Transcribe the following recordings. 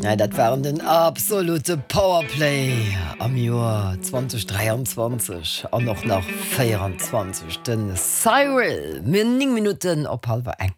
Ja, dat waren den absolute Powerplay am Joer 2023 an och nach 24. Den Cyril, mir 9 Minutten op hallwer eng.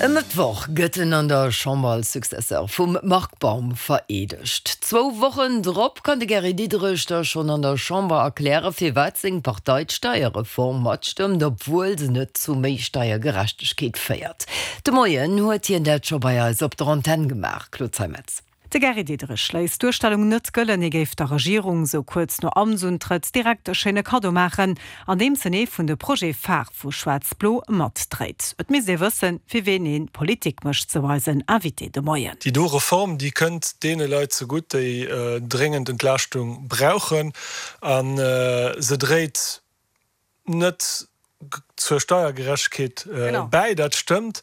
E Mëttwoch gëtt en an der Chamber als Successeur vum Marc Baum vereedegt. Zwou Wochen drop kann de Gary Diderich da schonn an der Chamber erklären, firwat seng Partei d'Steierreform matstëmmt, obwuel se net zu méi Steiergerechtegkeet féiert. De Moien huet hien dat scho bei eis op der Antenn gemaach. Claude Zeimetz. De Gary Diderich léisst d'Duerstellung net gëllen, hie géif der Regierung sou kuerz no Amtsuntrëtt direkt e schéine Kaddo maachen, andeems en ee vun de Projete phare vu Schwaarz-Blo matdréit. Et misst ee wëssen, fir ween ee Politik mécht, sou eisen Invité de Moien. Déi do Reform, déi kënnt deene Leit zegutt, déi dréngend Entlaaschtung brauchen a se dréit net zur Steiergerechtegkeet bäi, dat stëmmt,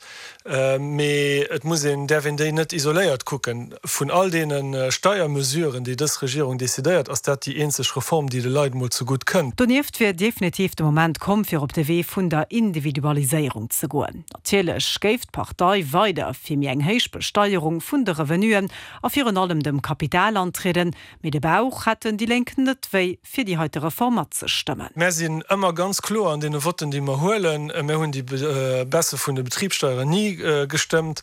mee et muss een, däerf een déi net isoléiert kucken. Vun all deene Steiermesuren, déi dës Regierung decidéiert, ass dat déi eenzeg Reform, déi de Leit emol zegutt kënnt. Donieft wier definitiv de Moment komm, fir op de Wee vun der Individualiséierung ze goen. Natierlech géif d'Partei weider fir méi eng héich Besteierung vun de Revenuen a virun allem dem Kapital antrieden, Mee de Bauch hätten déi Lénk net wéi, fir déi heite Reform matzestëmmen. Mär sinn ëmmer ganz kloer an deene Votten, déi mer huelen. Mär hunn déi Baisse vun de Betribssteieren ni gestëmmt.